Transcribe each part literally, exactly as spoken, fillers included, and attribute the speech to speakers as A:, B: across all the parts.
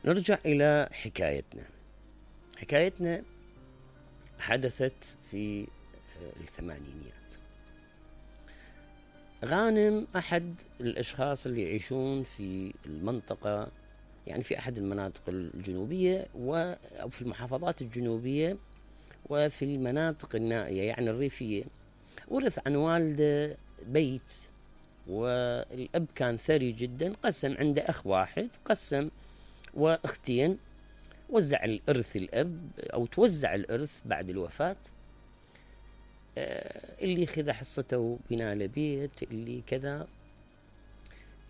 A: نرجع إلى حكايتنا. حكايتنا حدثت في الثمانينيات. غانم أحد الأشخاص اللي يعيشون في المنطقة، يعني في أحد المناطق الجنوبية أو في المحافظات الجنوبية وفي المناطق النائية يعني الريفية. ورث عن والده بيت، والأب كان ثري جدا، قسم عنده أخ واحد، قسم واختين، وزع الإرث الأب أو توزع الإرث بعد الوفاة. اللي خذ حصته بناء لبيت، اللي كذا.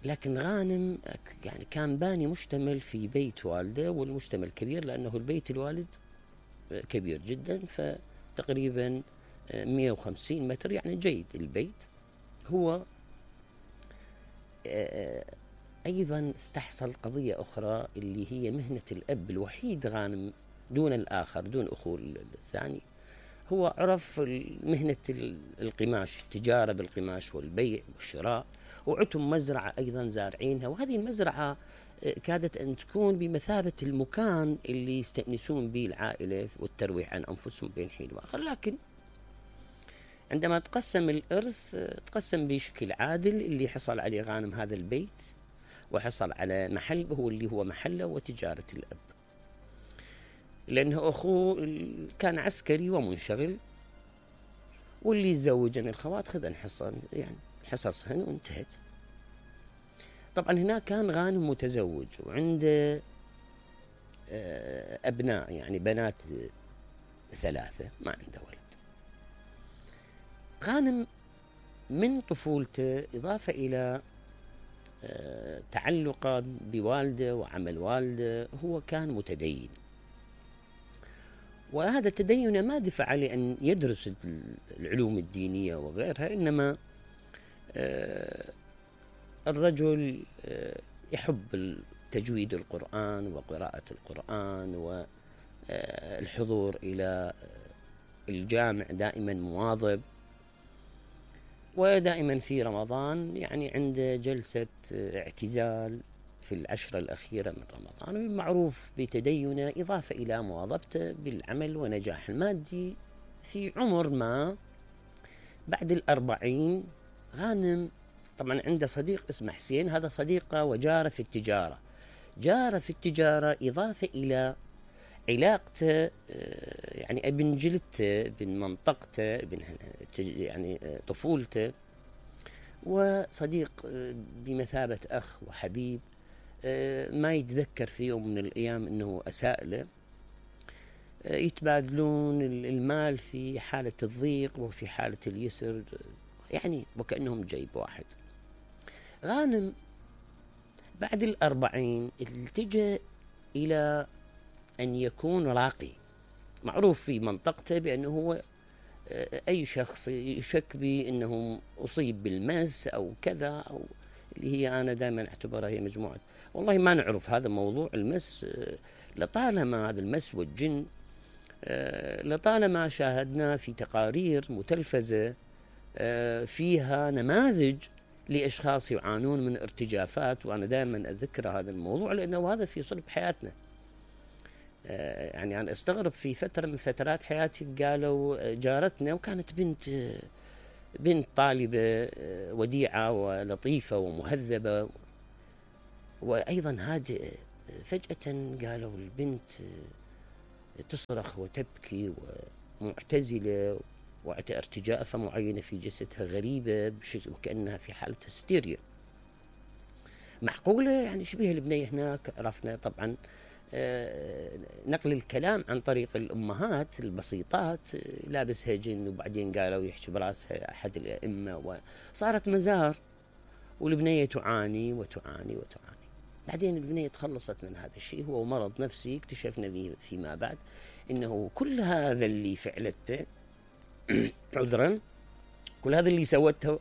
A: لكن غانم يعني كان باني مشتمل في بيت والده، والمشتمل كبير لأنه البيت الوالد كبير جدا، فتقريبا مئة وخمسين متر، يعني جيد البيت. هو أيضا استحصل قضية أخرى اللي هي مهنة الأب الوحيد غانم دون الآخر، دون أخوه الثاني. هو عرف مهنة القماش، التجارة بالقماش والبيع والشراء، وعتم مزرعة أيضا زارعينها، وهذه المزرعة كادت أن تكون بمثابة المكان اللي يستأنسون به العائلة والترويح عن أنفسهم بين حين وآخر. لكن عندما تقسم الإرث تقسم بشكل عادل، اللي حصل عليه غانم هذا البيت، وحصل على محل هو اللي هو محله وتجارة الأب، لأنه أخوه كان عسكري ومنشغل، واللي يتزوج من الخوات خذ الحصة، يعني حصصهن وانتهت. طبعا هنا كان غانم متزوج وعنده أبناء، يعني بنات ثلاثة، ما عنده ولد. غانم من طفولته إضافة إلى تعلقا بوالده وعمل والده، هو كان متدين، وهذا التدين ما دفع عليه أن يدرس العلوم الدينية وغيرها، إنما الرجل يحب تجويد القرآن وقراءة القرآن والحضور إلى الجامع، دائما مواظب. ودائما في رمضان يعني عنده جلسة اعتزال في العشرة الأخيرة من رمضان، معروف بتدينه إضافة إلى مواظبته بالعمل ونجاح المادي. في عمر ما بعد الأربعين غانم طبعا عنده صديق اسمه حسين، هذا صديقه وجاره في التجارة، جاره في التجارة إضافة إلى علاقته يعني ابن جلدته، ابن منطقته، ابن يعني طفولته، وصديق بمثابة أخ وحبيب. ما يتذكر في يوم من الأيام أنه أساء له. يتبادلون المال في حالة الضيق وفي حالة اليسر، يعني وكأنهم جيب واحد. غانم بعد الأربعين التجأ إلى أن يكون راقي. معروف في منطقته بأنه هو أي شخص يشك بأنه أصيب بالمس أو كذا، أو اللي هي أنا دائما أعتبرها هي مجموعة، والله ما نعرف هذا موضوع المس، لطالما هذا المس والجن لطالما شاهدنا في تقارير متلفزة فيها نماذج لأشخاص يعانون من ارتجافات، وأنا دائما أذكر هذا الموضوع لأنه هذا في صلب حياتنا. يعني أنا أستغرب في فترة من فترات حياتي قالوا جارتنا، وكانت بنت بنت طالبة وديعة ولطيفة ومهذبة وأيضا هادئة، فجأة قالوا البنت تصرخ وتبكي ومعتزلة وارتجافة معينة في جسدها غريبة وكأنها في حالة هستيريا. معقولة؟ يعني شبيه البنية هناك. عرفنا طبعا نقل الكلام عن طريق الأمهات البسيطات، لابسها جن، وبعدين قالوا يحشي براسها أحد الأئمة، وصارت مزار، والبنية تعاني وتعاني وتعاني. بعدين البنية تخلصت من هذا الشيء، هو مرض نفسي اكتشفنا به فيما بعد إنه كل هذا اللي فعلته عذرا كل هذا اللي سوته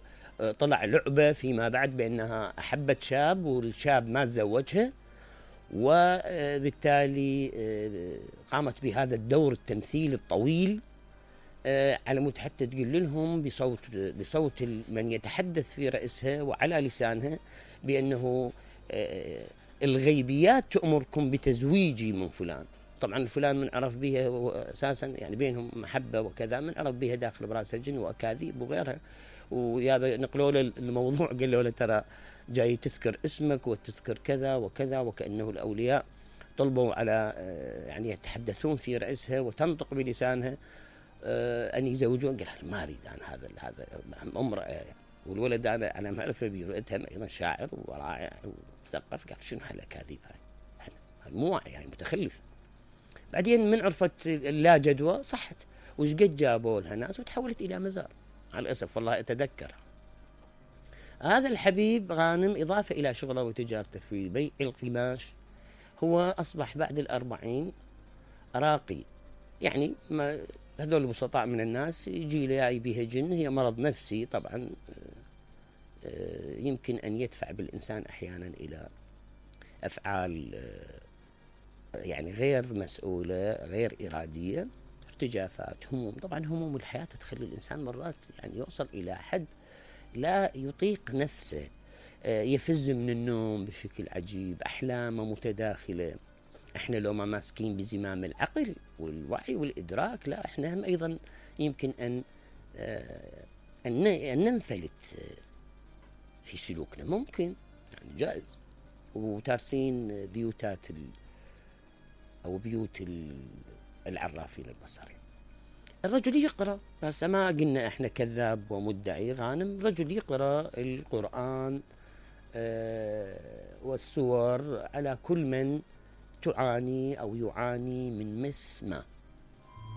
A: طلع لعبة فيما بعد، بأنها أحبت شاب والشاب ما تزوجها، وبالتالي قامت بهذا الدور التمثيل الطويل على مود حتى تقول لهم بصوت بصوت من يتحدث في رأسها وعلى لسانها بأنه الغيبيات تأمركم بتزويجي من فلان. طبعا فلان من عرف بها أساسا يعني بينهم محبة وكذا، من عرف بها داخل براس الجن وأكاذيب وغيرها. ويا نقلوا له الموضوع قالوا له ترى جاي تذكر اسمك وتذكر كذا وكذا، وكأنه الأولياء طلبوا على يعني يتحدثون في رأسها وتنطق بلسانها أن يزوجون. قال ما أريد أنا هذا هذا امرأة، والولد أنا أنا معرفة برؤيتها أيضا شاعر ورائع ومثقف. قال شنو هالأكاذيب هاي، مو يعني متخلف. بعدين من عرفت اللا جدوى صحت، وش قد جابوا لها ناس وتحولت إلى مزار على الأسف. والله أتذكر هذا الحبيب غانم إضافة إلى شغله وتجارته في بيع القماش، هو أصبح بعد الأربعين راقي. يعني ما هذول البسطاء من الناس يجي له بها جن، هي مرض نفسي طبعا يمكن أن يدفع بالإنسان أحيانا إلى أفعال يعني غير مسؤولة غير إرادية، ارتجافات، هموم. طبعا هموم الحياة تخلي الإنسان مرات يعني يوصل إلى حد لا يطيق نفسه، يفز من النوم بشكل عجيب، أحلامه متداخلة. احنا لو ما ماسكين بزمام العقل والوعي والإدراك، لا احنا هم أيضا يمكن أن أن ننفلت في سلوكنا، ممكن يعني جائز. وتارسين بيوتات ال أو بيوت العرافين البصري. الرجل يقرأ، بس ما قلنا احنا كذاب ومدعي. غانم رجل يقرأ القرآن آه والسور على كل من تعاني أو يعاني من مس ما.